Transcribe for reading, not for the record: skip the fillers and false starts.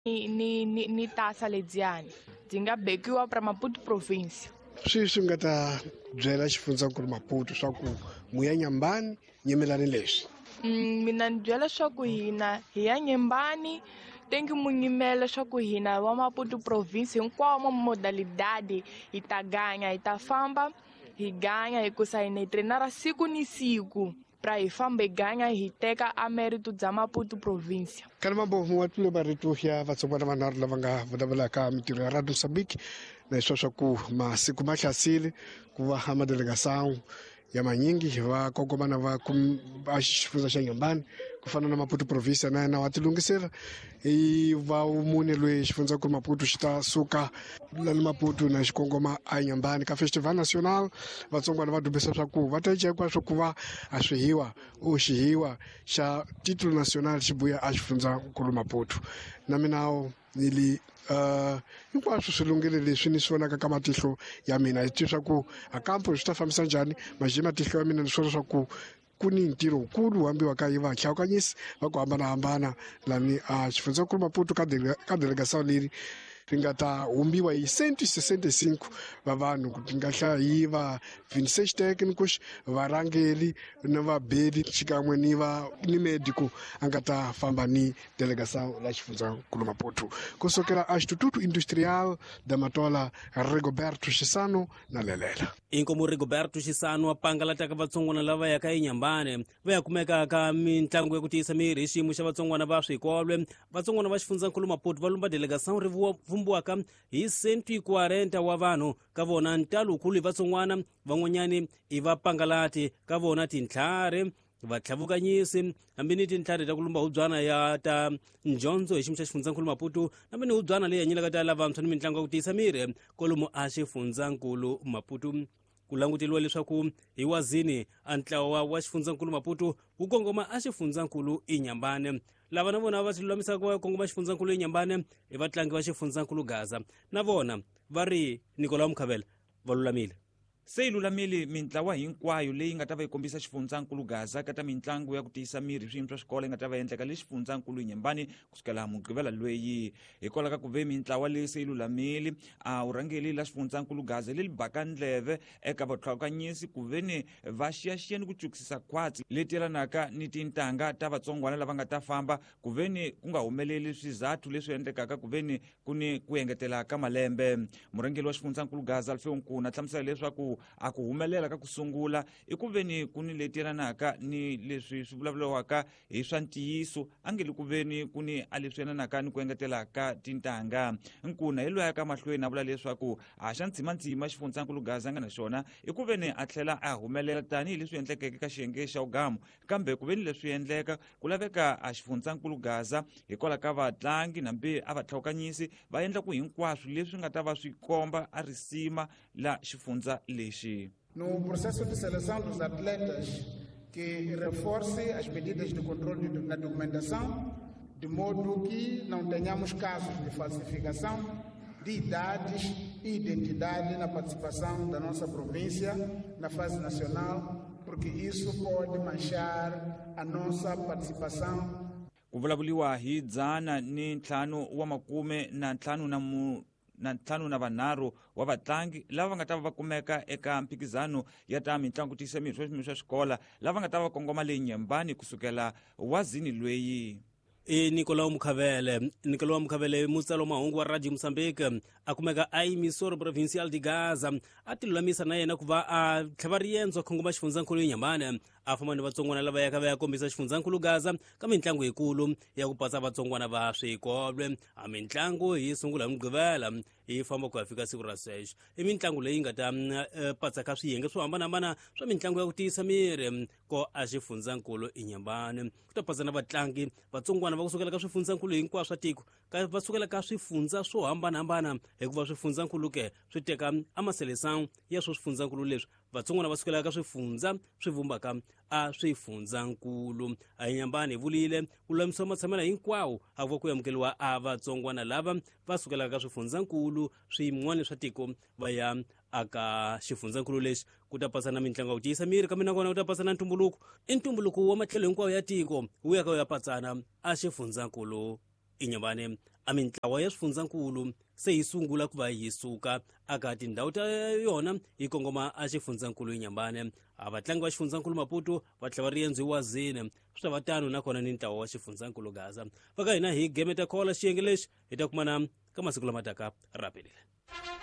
Ni tasa lediyani byi nga bekiwa pra Maputo province. Sweswi nga ta byela xifundzankulu Maputo swa ku muya Nyambani nyimelani leswi. Mina ni byela swa ku hina hi ya Nyembani, tengi mu nyimela swa ku hina wa Maputo province hinkwawo ma modalidade hi ta ganya, hi ta famba hi ganya hikusa hi ne trainara siku ni siku pra hi famba hi ganya hi teka a mérito bya Maputo province. Kana mambo wa tlule marito ya vatsongwana vanharhu lava nga vulavulaka mintirho ya Radio Mozambique na leswa swa ku masiku ma hlasile ku va a madelegação ya manyingi va kongomana va va xifundza xa Nyambani ku fana na Maputo province na yena wa tilunghisela i va mune loyi xifundzankulu Maputo xi ta suka lani Maputo na xikongoma a Nyambani ka Festival National. Vatsongwana va dumbisa swa ku va ta cinca hinkwaswo ku va a swihiwa o xihiwa xa titulo national xi buya a xifundzankulu Maputo na minawo ni li hinkwaswo swi lunghile leswi ni swi vonaka ka matihlo ya mina hi tiva swa ku a kampo swi ta fambisa njhani maje matihlo ya mina ni swona swa ku ku ni ntirho wukulu hambiwa ka yi vahlawukanyisi va ku hambanahambana lani a xifundzankulu Maputo ka ka delegação leri ri nga ta humbiwa hi 165 va vanhu ku nga hlaya hi va 26 técnicos varhangeli na vabeli xikan'we ni va ni médico a nga ta famba ni delegação la xifundzankulu Maputo kusukela a Instituto Industrial da Matola. Rigoberto Xisano na Lelela. Inkomu Rigoberto Xisano a pangalataka vatsongwana lava yaka eNyambane va ya kumeka ka mitlangu ya ku tiyisa miri hi xiyimo xa vatsongwana va swikolwe. Vatsongwana va xifundzankulu Maputo va lumba delegação ri vumbiwaka hi 140 wa vanhu ka vona ntalukulu hi vatsongwana van'wanyani i vapangalati ka vona tintlhari vatlhavukanyisi hambi ni tintlhari ta ku lumba hubyana ya ta ndyondzo hi xiyimo xa xifundzankulu Maputo hambi ni hubyana leyi hanyelaka ta lavantshwa ni mitlangu ya ku tiyisa miri kwalomu a xifundzankulu Maputo. Ku languteliwa leswaku hi wazini a ntlawa wa xifundzankulu Maputo wu kongoma a xifundzankulu iNyambane. Lava na vona va tilulamisaka va kongoma xifundzankulu iNyambane i vatlangi va xifundzankulu Gaza na vona va ri Nicolau Mukhavela va lulamile. Se yi lulamile mintlawa hinkwayo leyi nga ta va yi kombisa xifundzankulu Gaza ka ta mitlangu ya ku tiyisa miri hi swiyimo swa xikolo yi nga ta va endleka le xifundzankulu Nyembani kusukela Mugqivela lweyi. Hikwalaho ka ku ve mintlawa leyi se yi lulamile a vurhangeli la xifundzankulu Gaza leri baka ndleve eka vatlhawukanyisi ku ve ni va xiyaxiya ni ku cukisisa khwatsi leti yelanaka ni tintangha ta vatsongwana lava nga ta famba ku ve ni ku nga humeleli swizathu leswi endlekaka ku ve ni ku ni ku engetela ka malembe. Murhangeri wa xifundzankulu Gaza Alfeo Nkuna hlamusela leswaku a ku humelela ka ku sungula i ku ve ni ku ni leti yelanaka ni leswi swi vulavuriwaka hi swa ntiyiso a nge le ku ve ni ku ni a leswi yelanaka ni ku engetela ka tintangha. Nkuna hi loyi a ka mahlweni a vula leswaku a xa ntsimantsima xifundzankulu Gaza a nga na xona i ku ve ni a tlhela a humelela tanihileswi endlekeke ka xiyenge xa ugamu kambe ku ve ni leswi endleka ku laveka a xifundzankulu Gaza hikwalaho ka vatlangi nambi a vatlhawukanyisi va endla ku hinkwaswo leswi nga ta va swi komba a risima la xifundza lexi. No processo de seleção dos atletas que reforce as medidas de controle na documentação, de modo que não tenhamos casos de falsificação de idades e identidade na participação da nossa província na fase nacional, porque isso pode manchar a nossa participação. Ku vulavuriwa hi 155 na mu na ntlhanu na vanharhu wa vatlangi lava nga ta va va kumeka eka mphikizano ya ta mitlangu tiyisa miri swa swiyimo swa xikola lava nga ta va kongoma le Nyembani kusukela wazini lweyi. I Nicolau Mukhavele. Nicolau Mukhavele mutsari wa mahungu wa Radio Mozambique a kumeka a Emissora Provincial de Gaza a tilulamisa na yena ku va a tlhava riendzo a khongoma xifundzankulu eNyambane a famba ni vatsongwana lava yaka va ya kombisa xifundzankulu Gaza ka mitlangu yikulu ya ku patsa vatsongwana va swikolwe. A mitlangu yi sungula hi Mugqivela yi famba ku ya fika siku ra sweswo. I mitlangu leyi nga ta patsa ka swiyenge swo hambanahambana swa mitlangu ya ku tiyisa miri ko a xifundzankulu iNyambane. Ku ta patsa na vatlangi vatsongwana va kusukela ka swifundzankulu hinkwaswo swa tiko ka va sukela ka swifundza swo hambanahambana hikuva swifundzankulu ke swi teka amaselesang ya swo swifundzankulu leswi vatsongwana va sukela ka swifundza swi vumbaka a swifundzankulu. A Nyambani hi vulile ku lulamisiwa matshamelo hinkwawo a ku va ku amukeriwa a vatsongwana lava va sukelaka ka swifundzankulu swin'wana swa tiko va ya aka xifundzankulu lexi. Ku ta pasa na mitlangu ya ku tiyisa miri kambe nakona ku ta pasa na ntumbuluko i ntumbuluko wa matlhelo hinkwawo ya tiko wu ya ka wu ya patsana a xifundzankulu iNyambane. A mintlawa ya swifundzankulu se yi sungula ku va yi suka aka tindhawu ta yona yi kongoma a xifundzankulu Inhambane. A vatlangi va xifundzankulu Maputo va tlhela va riendzo hi wazini, swi ta va tano nakona ni ntlawa wa xifundzankulu Gaza. Va ka hina hi gemeta khola xiyenge lexi hi ta kumana ka masiku lama taka. Rapelile.